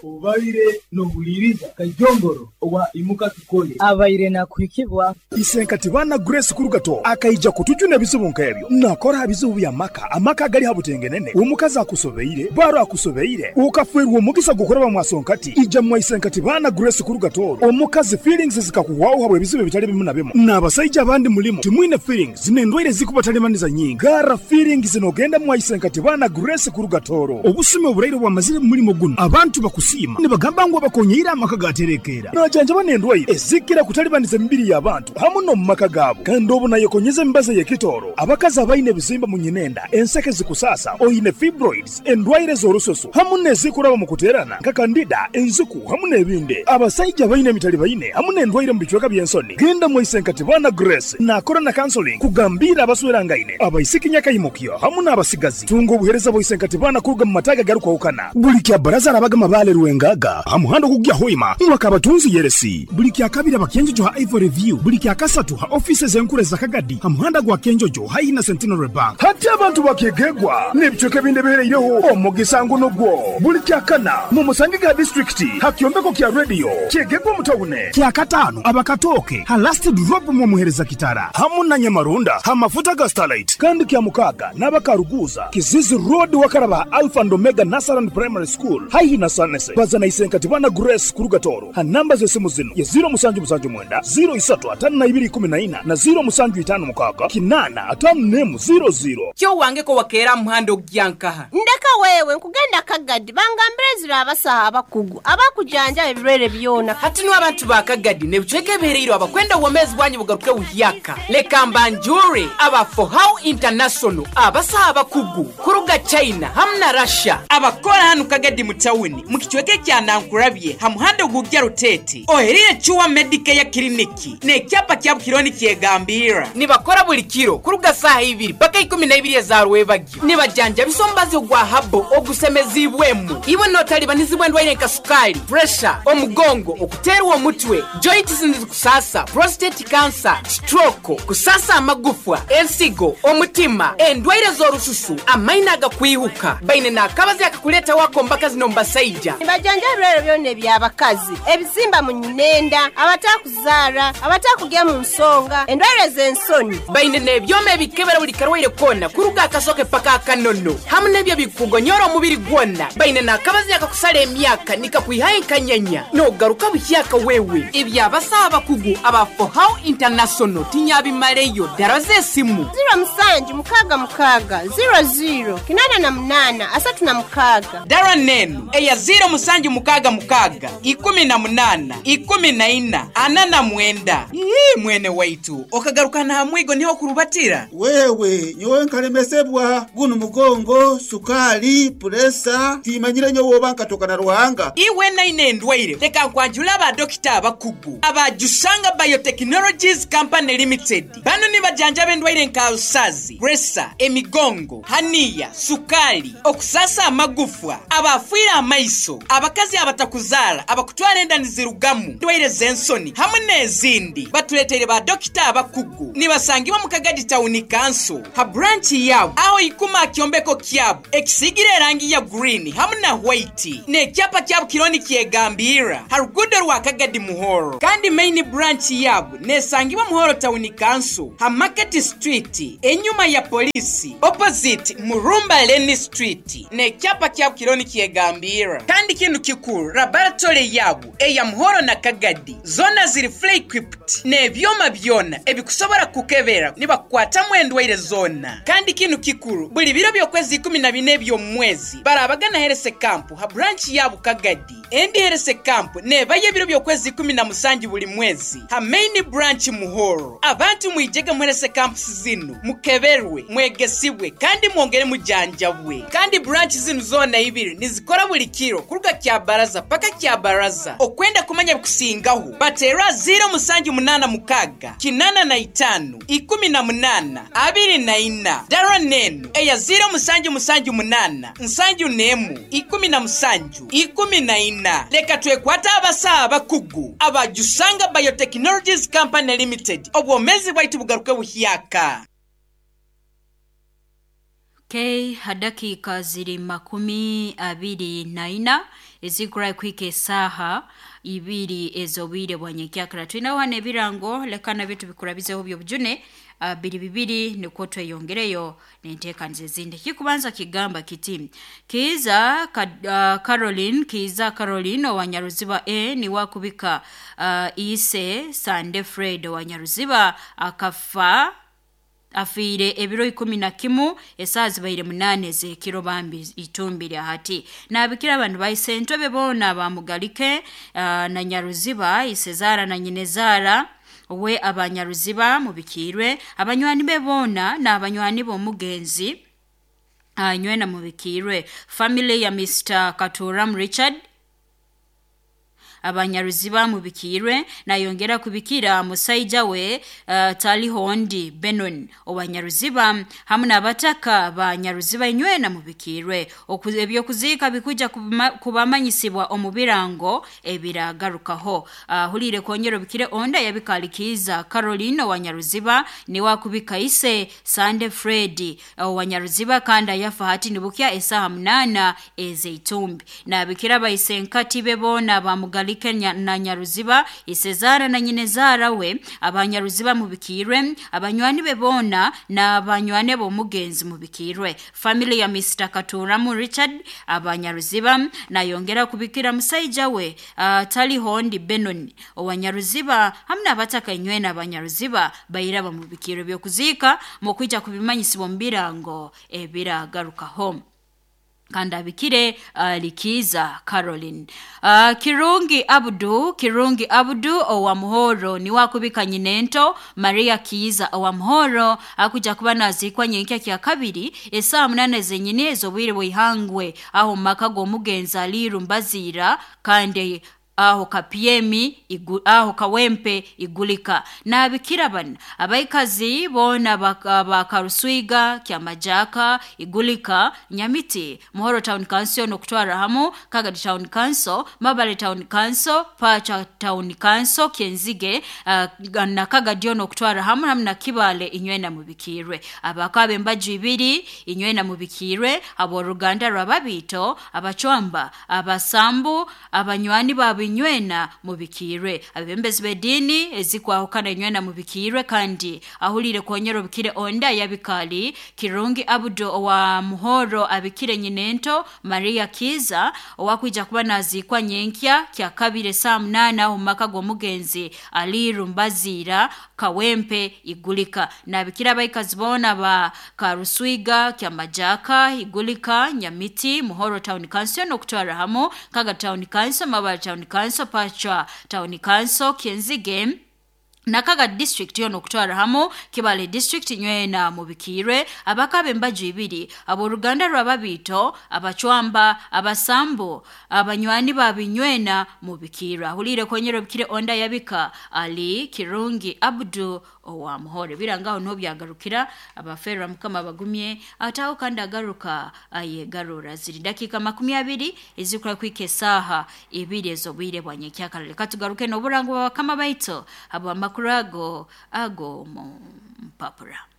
Obaire nohuliiriza Kajongoro owa Imuka Tukole. Abaire nakuhikibwa. Isenkati baana Grace Kurugato akaija kutujuna ebizibu nk'ebyo. Nakora ha bizibu by'amaka, amaka agali ha butengenene, omukazi akusobeire, baro akusobeire, okafeerwa omugisa gw'okuraba mwasonkati, ija mwa Isenkati baana Grace Kurugato omukazi feelings zikakuhwaho habw'ebizibu ebitali bimu na bimu. N'abasaija abandi mulimu timwine feelings n'endwaire ezikubatalibaniza nyingi. Garra feelings n'ogenda mwa Isenkati baana Grace Kurugatoro. Obusumi oburaire obwamazire mu mulimo gunu, abantu bakusiima nibagamba ngu abakonyeire amaka gaterekeera. Najanjaba n'endwaire ezikira kutalibaniza emibiri y'abantu hamu n'omu maka gaabo. Kandi obu nayekonyeza emibazi ey'ekitooro, abakazi abaine ebizimba mu nyinenda, enseke zikusaasa, oine fibroids, endwaire z'orususu hamu n'ezikuraba omu kuteerana nka kandida, enziku hamu n'ebindi. Abasaija abaine emitalibaine hamu n'endwaire omu bicweka by'ensoni, genda mwaise Nkatibana Grace naakora na counseling kugambiira abaswerangaine, abaisiki nyakaimukyo hamu n'abasigazi. Tunga obuheereza bwa Isenkatibana kuruga mu mataagi agarukwahukana. Buli kya Baraza arabaga Mabaale Rwengaga ha muhanda ogukugya Hoima mwaka abatunzi Yeresi. Buli kya Kabiri aba Kyenjojo ha Ivory View. Buli kya Kasatu ha ofiisi ez'enkuru eza Kagadi ha muhanda gwa Kyenjojo haihi na Centenary Bank. Hati abantu bakyegegwa n'ebicweka ebindi ebihereireho omugisa ngu nugwo. Buli kya Kana mumusangege ha disiturikiti ha kyombeko kya rediyo Kyegegwa omu tawune. Kya Kataano aba Katooke ha Last Drop mwomuhereza Kitara hamu na Nyamarunda ha mafuta ga Starlite. Kandi kya Mukaaga n'abakaruguuza Kizizi Road wakaraba ha Alpha and Omega Nursery and Primary School haihi na Sanese. Baza na Isenkati Bwana Grace kuruga Tooro ha namba z'esimu zinu ye ziro musanju musanju mwenda, ziro isatu atano na ibiri ikumi na ina na ziro musanju itano mukaaga kinaana atano n'emu ziro ziro. Kyo wange ko wakeera aha muhanda okugya nkaha? Ndeka wewe, nkugenda Kagadi bangambire ezira abasaho abakugu abakujanjaba ebirwaire byona. Hati nu abantu ba Kagadi n'ebicweka ebihereirwe abakwenda obwomeezi bwanyu bugaruke buhyaka, leka mbanjure aba Fohow International abasaho abakugu kuruga China hamu na Russia abakora hanu Kagadi mu tawuni mu kicweka ekya Nankurabye ha muhanda ogugya Ruteete oherire Chua Medicare Clinic n'ekyapa kya Bukironi kyegambirra. Nibakora buli kiro kuruga saaha ibiri paka ikumi na ibiri eza rwebagyo. Nibajanjabisa omubazi ogwa habo ogusemeziibwemu. Iwe notalibanizibwa endwaire nka sukaali, puresha, omugongo, okuteerwa omutwe, joints nizikusaasa, prostate cancer, stroke, kusaasa amagufwa, ensigo, omutima, endwaire z'orususu, amaino agakwihuka. Baine n'akabazi akakuleetaho ak'omu bakazi n'omu basaija. Nibajanjaba ebirwaire byona eby'abakazi, ebizimba mu nyinenda, abatakuzaara, abatakugya mu nsonga, endwaire z'ensoni. Baine n'ebyoma ebikebera buli karwaire koona kuruga akasoke paka akanono hamu n'ebyo ebikukugonyora omubiri gwona. Baine n'akabazi akakusara emyaka nikakwihayo enkanyanya n'ogaruka buhyaka wewe. Eby'abasaho abakugu aba Fohow International tinyabimaleyo dara z'esimu. Ziro musanju mukaaga mukaaga, ziro ziro, 88 36. Dara n'enu eya ziro musanju mukaaga mukaaga, 18, 14, 49. Ii, mwene waitu, okagaruka n'aha mwigo niho okurubatira? Wewe nyowe nkalemesebwa gunu mugongo, sukaali, puresa, timanyire nyowe oba nkatoka na Ruhanga. Iwe naine endwaire, leka nkwanjule aba dokita abakugu aba Jusanga Biotechnologies Company Limited. Banu nibajanjaba endwaire nka alusazi, puresa, emigongo, haniya, sukaali, okusaasa amagufwa, abaafiire amaiso, abakazi abatakuzaara, abakutwara enda nizirugamu, endwaire z'ensoni hamu n'ezindi. Batuleteire ba dokita abakugu. Nibasangibwa mu Kagadi Tawuni Kanso ha buranchi yaabo aho ikuma aha kyombeko kyabo ekisiigire erangi ya gurini hamu na hwaiti n'ekyapa kyabo kiriho nikyegambirra ha ruguudo rwa Kagadi Muhoro. Kandi maini buranchi yaabo nesangibwa Muhoro Tawuni Kanso ha Market Street enyuma ya poliisi opposite Murumba Lane Street n'ekyapa kyabo kiriho nikyegambirra. Kandi kinu kikuru laboratory yaabo eya Muhoro na Kagadi zoona ziri fully equipped n'ebyoma byona ebikusobora kukukebera nibakukwatamu endwaire zoona. Kandi kinu kikuru, buli biro by'okwezi 14 eby'omu mwezi barabaga na Herese Camp ha branch yabu Kagadi. Endi Herese Camp nebayo ebiro by'okwezi 17 buli mwezi ha main branch Muhoro. Abantu mwijege mu Herese Camps zinu mukeberwe, mwegesibwe kandi mwongere mujanjabwe. Kandi branch zinu zoona ibiri nizikora buli kiro kuruga Kyabaraza paka Kyabaraza. Okwenda kumanya ebikusingaho, bateerwa 0786 85 18 24. Dara n'enu eya 0778 71 17 14. Leka twekwate abasawo abakugu aba Jusanga Biotechnologies Company Limited obwomeezi bwaitu bugaruke buhyaka. Okay, ha dakiika ziri 24 Ezikurayi kuhika esaaha 2 ez'obwire bwa nyenkyakara. Twinaho hano ebirango leka nabyo tubikurabizeho by'obujune biri bibiri nikwo tweyongereyo n'enteekaniza ezindi. Kikubanza kigamba kiti Kiiza Caroline, Kiiza Caroline owa Nyaruziba A niwe akubika ise Sande Fred owa Nyaruziba akafa afiire ebiro 11 esaaha zibaire 8 ez'ekiro bambi itumbire hati. Naabikira abantu baise entebe boona bamugalike na Nyaruziba isezaara na nyinezaara we abanyaruziba mubikiirwe, abanywani be boona n'abanywani b'omugenzi nywena mubikiirwe. Family ya Mr. Katuram Richard abanyaruziba mubikiirwe, nayongera kubikira musaija we Talihondi Benon owanyaruziba hamu n'abataka ba Nyaruziba inywena mubikiirwe. Ebyokuziika bikuja kubamanyisibwa omu birango ebiragarukaho. Huliire kongera obikire onda yabikalikiiza Caroline owanyaruziba niwe akubika ise Sande Fred owanyaruziba kandi ayafa hati nibukya esaaha 8 ez'eitumbi. Nabikira baisenkati be boona bamugalike na Nyaruziba isezaara na nyinezaara we abanyaruziba mubikiirwe, abanywani be boona n'abanywani b'omugenzi mubikiirwe. Family ya Mr. Katuramu Richard abanyaruziba nayongera kubikira musaija we Talihondi Benon owanyaruziba hamu n'abataka inywena abanyaruziba baira bamubikirwe. Byokuziika mukwija kubimanyisibwa omu birango ebiragarukaho. Kandi abikire Likiza Caroline. Kirungi Abdu, Kirungi Abdu owa Muhoro niwe akubika nyinento Maria Kiiza owa Muhoro akuja kuba naziikwa nyenkya kya kabiri esaaha 8 zenyini ez'obwire bw'ihangwe aho mu maka g'omugenzi Aliiru Mbaziira kandi aho kapiemi aho kawempe igulika. Nabikira bana abaikazi boona bakaruswiga kyamajaka igulika Nyamiti Muhoro Town Council nokutwara hamu Kagadi Town Council, Mabale Town Council, Pacha Town Council, Kenzige na Kagadi nokutwara hamu hamu na Kibale inywena mubikirwe. Abakabe embaju ibiri inywena mubikirwe, aboruganda rwababito, abachwamba, abasambu, abanywani baabo inywena mubikirwe. Abebembezi b'ediini ezikwahukana inywena mubikirwe. Kandi ahulire konyera obikire onda yabikali Kirungi Abdu owa Muhoro abikire nyinento Maria Kiza owakwija kuba naziikwa nyenkya kya kabiri esaaha 8 aho mu maka g'omugenzi Aliiru Mbaziira Kawempe Igulika. Nabikira abaikazi boona ba Karuswiga Kyamajaka Igulika Nyamiti Muhoro Town Council nokutwara hamu Kaga Town Council, Mabale Town Council, Pacha Town Council, Kenzige Nakaga District yono okutwara hamu Kibale District nywena mubikirwe. Abakabe embaju ibiri aboruganda rwababito, abachwamba, abasambu, abanywani babinywena mubikirwe. Ahulire konyera obikire onda yabika Ali Kirungi Abdu owa Muhore. Birangaho niho byagarukira abaferra mukama bagumye ataho kandi agaruka ayegarura. Ziri dakika 20 ezikura kwika esaaha 2 ez'obwire bwa nyenkyakara. Leka tugaruke n'oburango bwa bakama baito abo amakuru ago ago mu mpapura.